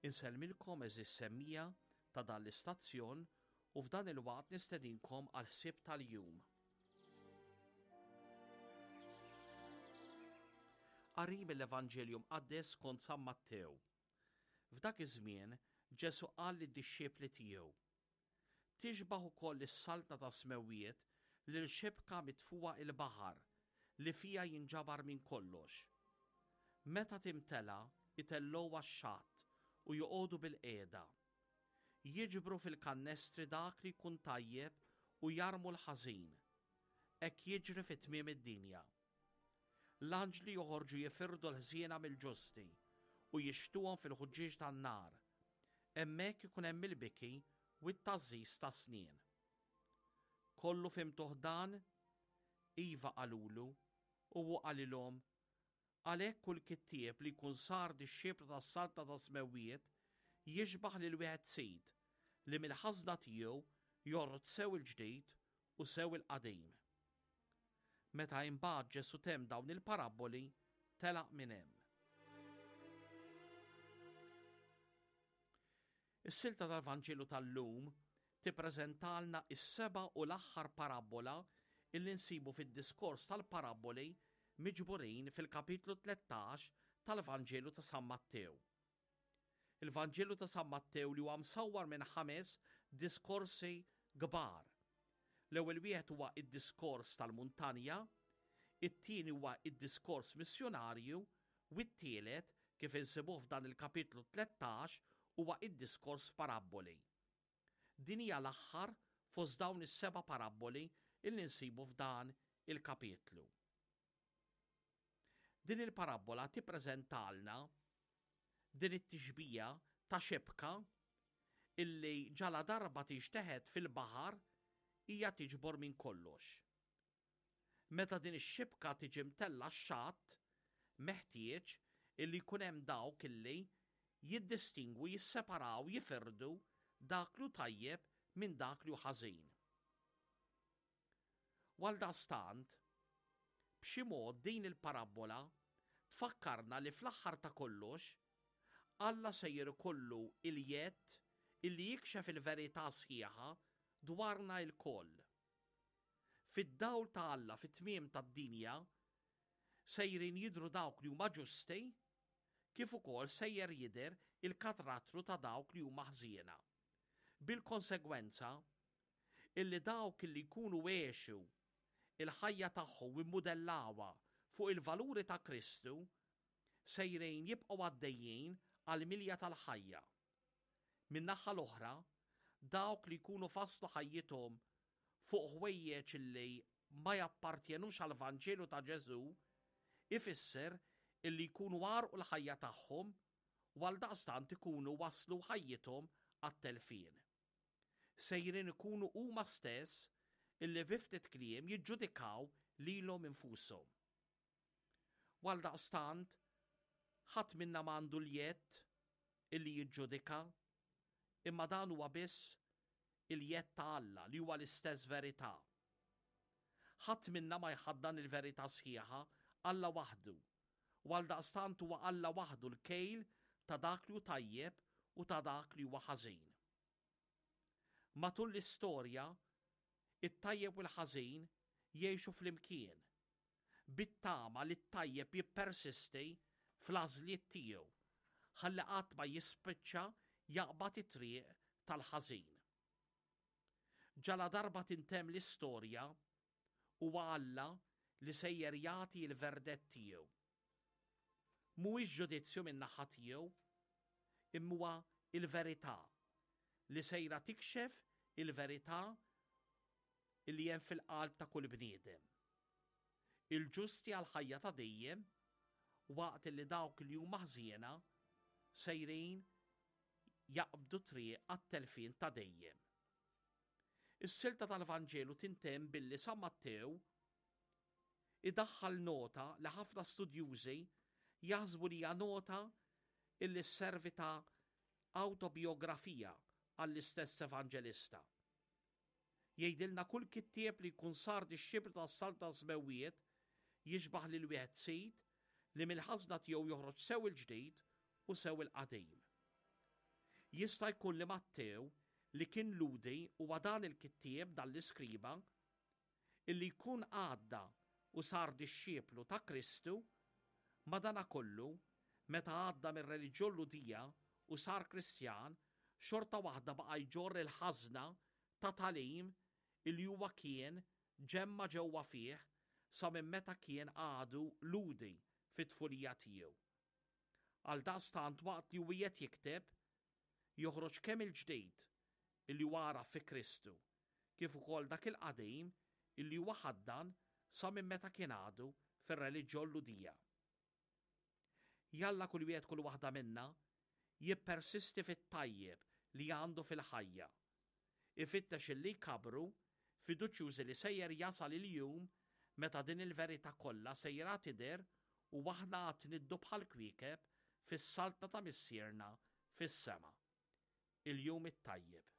Insellmilkom għeżież semmiegħa ta' dan l-istazzjon u f'dan il-waqt nistedinkom għall-ħsieb tal-jum. Qari mill-Evanġelju Mqaddes skont San Mattew. F'dak iż-żmien Ġesù qal lid-dixxipli tiegħu, Tixbah ukoll is-Saltna tas-Smewwiet lil xibka mitfugħa il-baħar li fiha jinġabar minn kollox. Meta timtela, itellgħuha x-xatt u joqogħdu bilqiegħda. Jiġbru fil-kannestri dak li jkun tajjeb u jarmu l-ħażin. Hekk jiġri fi tmiem id-dinja. L-anġli joħorġu jifirdu l-ħżiena mill-ġusti u jixtuhom fil-ħuġġieġ tan-nar. Hemmhekk ikun hemm il-biki u t-tgħażżiż tas-snien. Kollu fhimtuh dan? Iva qalulu, u hu qalilhom, Għalhekk kull kittieb li jkun sar dixxiplu tas-Saltna tas-Smewwiet jixbah lil wieħed sid li mill-ħażna tiegħu jorrod sew il-ġdid u sew il-qadim. Meta imbagħad Ġesù temm dawn il-parabboli, telaq minn hemm. Is-silta tal-Vanġelu tal-lum tippreżentalna s-seba' u l-aħħar parabbola illi nsibu fid-diskors tal-parabboli miġburin fil-kapitlu 13 tal-Vanġelu ta' San Mattew. Il-Vanġelu ta' San Mattew li huwa msawwar minn ħames diskorsi kbar. L-ewwel wieħed huwa id-diskors tal-muntanja, it-tieni huwa id-diskors missjunarju u t-tielet, kif insibuh f'dan il-kapitlu 13, huwa id-diskors f'parabboli. Din hija l-aħħar fost dawn is-seba' parabboli illi nsibu f'dan il-kapitlu. Din il-parabbola tippreżentalna din it-tixbija ta' xibka illi ġaladarba tinxteħet fil-baħar hija tiġbor minn kollox. Meta din ix-xibka tiġi mtellgħa x-xatt, meħtieġ illi jkun hemm dawk illi jiddistingwu, jisseparaw, jifirdu dak li hu tajjeb minn dak li hu ħażin. U għaldaqstant, b'xi mod din il-parabbola tfakkarna li fl-aħħar ta' kollox, Alla sejjer ikollu l-jedd illi jikxef il-verità sħiħa dwarna lkoll. Fid-dawl ta' Alla fit-tmiem tad-dinja, sejrin jidhru dawk li huma ġusti, kif ukoll sejjer jidher il-katratru ta' dawk li huma ħżiena. Bil-konsegwenza illi dawk illi jkunu għexu l-ħajja tagħhom u mmudellawha fuq il-valuri ta' Kristu sejrin jibqgħu għaddejjin għall-milja tal-ħajja. Min-naħa l-oħra, dawk li jkunu fasslu ħajjithom fuq ħwejjeġ illi ma jappartjenux għall-Vanġelu ta' Ġesù, ifisser illi jkunu għarrqu l-ħajja tagħhom u għaldaqstant ikunu wasslu ħajjithom għat-telfien. Sejrin ikunu huma stess illi bi ftit kliem jiġġudikaw lilhom infushom. U għaldaqstant, ħadd minna m'għandu l-jedd illi jiġġudika, imma dan huwa biss il-jedd ta' Alla li huwa l-istess verità. Ħadd minna ma jħaddan il-verità sħiħa, Alla waħdu. U għaldaqstant huwa Alla waħdu l-kejl ta' dak li hu tajjeb u ta' dak li huwa ħażin. Matul l-istorja, it-tajjeb u l-ħażin jgħixu flimkien, bit-tama li t-tajjeb jippersisti fl-għażliet tiegħu ħalli qatt ma jispiċċa jaqbad it-triq tal-ħażin. Ġaladarba tintemm l-istorja, Huwa Alla li sejjer jagħti l-verdett tiegħu. Mhuwiex ġudizzju min-naħa tiegħu, imma huwa l-verità li sejra tikxef il-verità li hemm fil-qalb ta' kull bniedem. Il-ġusti għall-ħajja ta' dejjem waqt li dawk li huma ħżiena sejrin jaqbdu triq għat-telfien ta' dejjem. Is-silta tal-Vanġelu tintemm billi San Mattew idaħħal nota li ħafna studjużi jaħsbu li hija nota illi sservi ta' awtobiografija għall-istess evanġelista. Jgħidilna kull kittieb li jkun sar dixxiplu tas-Saltna tas-Smewwiet jixbah lil wieħed sid li mill-ħażna tiegħu joħroġ sew il-ġdid u sew il-qadim. Jista' jkun li Mattew li kien Lhudi huwa dan il-kittieb, dan l-iskriba, illi jkun għadda u sar dixxiplu ta' Kristu, madanakollu, meta għadda mir-reliġjon Lhudija u sar Kristjan, xorta waħda baqa' jġorr il-ħażna ta' tagħlim illi huwa kien ġemma' ġewwa fih sa minn meta kien għadu Lhudi fit-tfulija tiegħu. Għaldaqstant waqt li hu qiegħed jikteb, joħroġ kemm il-ġdid illi huwa għaraf fi Kristu, kif ukoll dak il-qadim illi huwa ħaddan sa minn meta kien għadu fir-reliġjon Lhudija. Jalla kull wieħed kull waħda minna jippersisti fit-tajjeb li għandu fil-ħajja. Ifittex illi jkabbru, fiduċjużi li sejjer jasal il-jum meta din il-verità kollha sejra tidher u aħna għad niddu bħall-kwiekeb fis-saltna ta' Missierna fis-sema. Il-jum it-tajjeb.